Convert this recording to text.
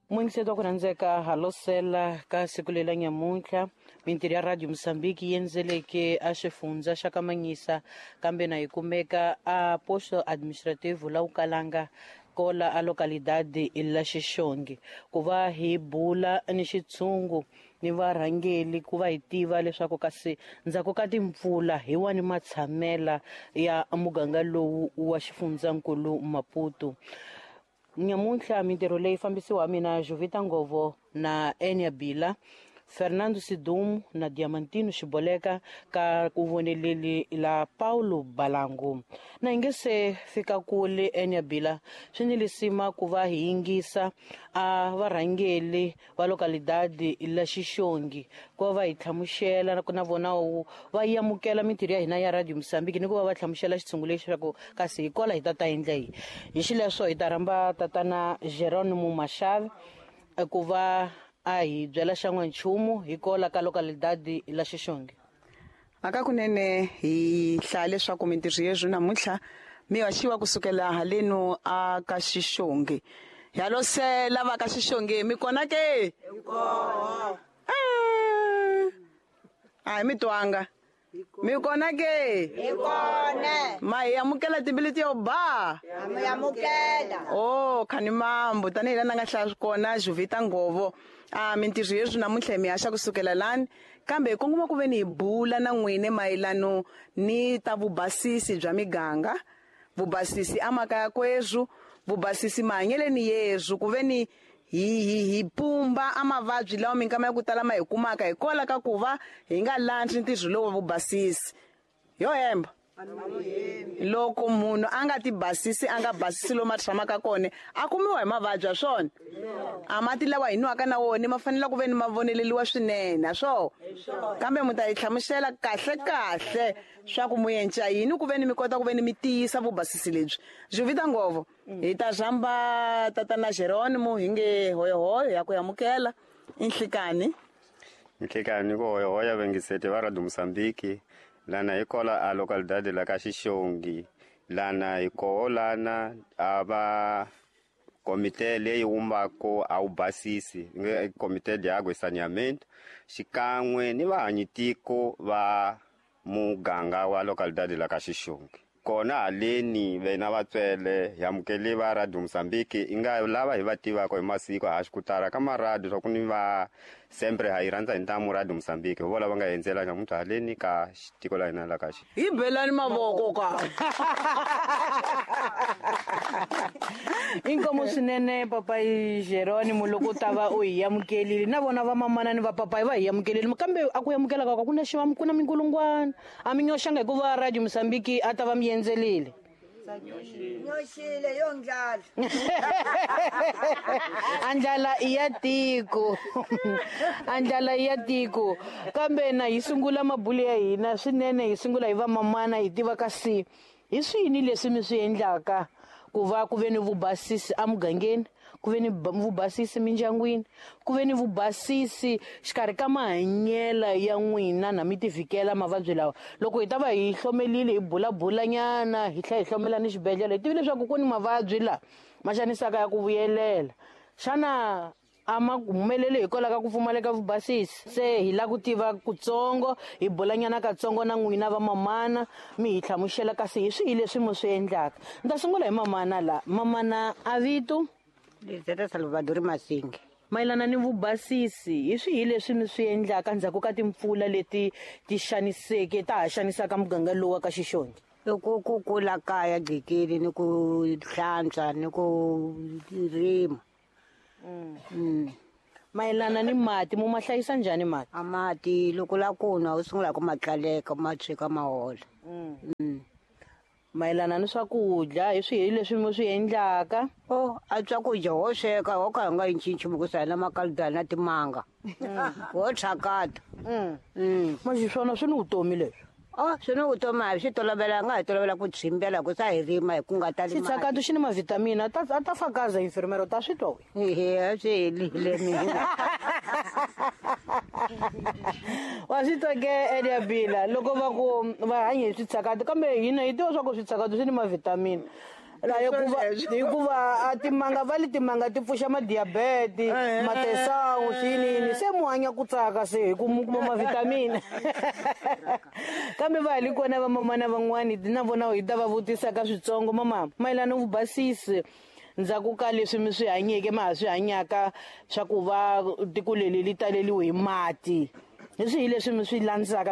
Muyingiseti wa ku rhandzeka, halosela ka siku lela nyamuntlha mintirho ya Radio Mozambique yi endzeleke a xifundza xa ka Manyisa, kambe na yi kumeka a posto administrativo la Ukalanga kola a localidade la Xixongi, ku va hi bula ni xitshungu ni varhangeli ku va hi tiva leswaku kasi ndzhaku ka timpfula hi wani matshamela ya muganga lowu wa xifundzankulu Maputo. Nyamuntlha mintirho leyi fambisiwa mina Jovita Ngovo na Enia Bila, Fernando Sidumo na Diamantino Xiboleka ka ku voneleli la Paulo Balangu. Na hi nge se fika kule Enia Bila, swi ni lisima ku va hi yingisa a varhangeli va localidade la Xixongi ku va va hi hlamusela na vona va amukela mintirho ya hina ya Radio Mozambique ni ku va va hlamusela xitshungu lexi leswaku kasi hi kola hi ta ta endla yini. Hi xileswo hi ta rhamba tatana Geronimo Mashave ku va a hi byela xan'wanchumu hi kola ka localidade la Xixongi. Aka kunene hi hlaya leswaku mintirho yezwi namuntlha mi haxiwa kusukela haleno a ka Xixongi. Halosela va ka Xixongi, mi kona ke? Hi kona. A hi mi twanga. Mi kona ke? Hi kona. Ma hi amukela timbilu ti yo ba? Ha mi amukela. Oh, khani mambo tanihi laha nga hlaya kona Jovita Ngovo. A mintirho yezwi namuntlha hi mi haxa kusukela lani, kambe hi kongoma ku ve ni hi bula na n'wine mayelano ni ta vubasisi bya miganga, vubasisi emakaya kwezwu, vubasisi mahanyeleni yezwu, ku ve ni hi pumba a mavabyi lawa minkama ya ku tala ma hi kumaka hikwalaho ka ku va hi nga landzi ntirho lowu wa vubasisi. Yo hemba. Loko munhu a nga ti basisi, a nga basisi lomu a tshamaka kona, a kumiwa hi mavabyi ya swona. A mati lawa hi nwaka na wona ma fanele ku ve ni ma voneleliwa swinene, ha swona. Kambe mi ta hi hlamusela kahle kahle swa ku mu endla yini ku ve ni mi kota ku ve ni mi tiyisa vubasisi lebyi. Jovita Ngovo, hi ta rhamba tatana Geronimo hi nge hoyohoyo ya ku amukela inhlikani. Inhlikani ku hoyohoya vengiseti va Radio Mozambique. Lana hi kola a localidade la ka Xixongi. Lana hi koho lana a va komite leyi vumbaka a wu basisi, nge komite de água e saneamento, xikan'we ni vahanyitiko va muganga wa localidade la ka Xixongi. Kona haleni vena vatswele hi amukele va Radio Mozambique, i nga lava hi va tivaka hi masiku ha xi ku tala ka maradio swa ku ni va sempre ha yi rhandza hi ntamu Radio Mozambique, hi vona va nga endzela nyamuntlha haleni ka tiko la hina la ka xi. Hi belani mavoko ka. Inkomo swinene papayi Geronimo loko u ta va u hi amukelile, na vona va mamana ni va papayi va hi amukelile, kambe a ku amukela ka ku na xiva ku na minkulungwana. A mi nyoxanga hikuva Radio Mozambique a ta va mi endzelile. Nyoxile yo ndlala. A ndlala i ya tiko. A ndlala i ya tiko. Kambe na hi sungula mabulu ya hina swinene, hi sungula hi va mamana, hi tiva kasi hi swini leswi mi swi endlaka ku va ku ve ni vubasisi emugangeni, ku ve ni vubasisi mindyangwini, ku ve ni vubasisi xikarhi ka mahanyela ya n'wina na mi ti vhikela mavabyi lawa. Loko hi ta va hi hlomelile, hi bulabulanyana, hi tlhela hi hlomela ni xibedhlele, hi tivile leswaku ku ni mavabyi lawa ma xanisaka ya ku vuyelela. Xana a ma humeleli hikwalaho ka ku pfumaleka vubasisi? Se hi lava ku tiva kutsongo, hi bulanyana katsongo na n'wina va mamana, mi hi hlamusela kasi hi swihi leswi mi swi endlaka. Ni ta sungula hi mamana la. Mamana a vito? Lizeta Salvador Masingi. Mayelana ni vubasisi, hi swihi leswi mi swi endlaka ndzhaku ka timpfula leti ti xaniseke, ta ha xanisaka muganga lowu wa ka Xixongi? I ku kukula kaya gqikini ni ku hlantswa ni ku rima. Mayelana ni mati, mu ma hlayisa njhani mati? A mati loko la ku nwa u sungula ku ma tlaleka, ma tshweka ma hola. Mayelana ni swakudya, hi swihi leswi mi swi endlaka? Oh, a swakudya ho sweka, ho ka hi nga yi nchumu ku sala makaludana na timanga. Ho tshakata. Manje swona swi ni vutomi leswi. Oh, swi ni vutomi, a hi swi tolovelanga, hi tolovela ku tshimbela ku sa hi rima hi ku nga tali mati. Xitshakato xi ni mavhitamini, a ta fakaza infirmero, ta swi twa we? Ehe, a swi helile mina. Wa swi twa ke Elia Bila, loko va ku va hanya hi switshakato, kambe hina hi tiva swa ku switshakato swi ni mavhitamini. La hikuva Swoleswo. hikuva a timanga va le timanga ti pfuxa madiabete, matesawu, swinini se mu hanya ku tsaka se hi ku mu kuma mavhitamini. Kambe va ha li kona vamamana van'wani na vona hi ta va vutisa ka switsongo. Mama, mayelana vubasisi ndzhaku ka leswi mi swi hanyeke, ma ha swi hanyaka swa ku va tiko leri li taleliwe hi mati, hi swihi leswi mi swi landzaka?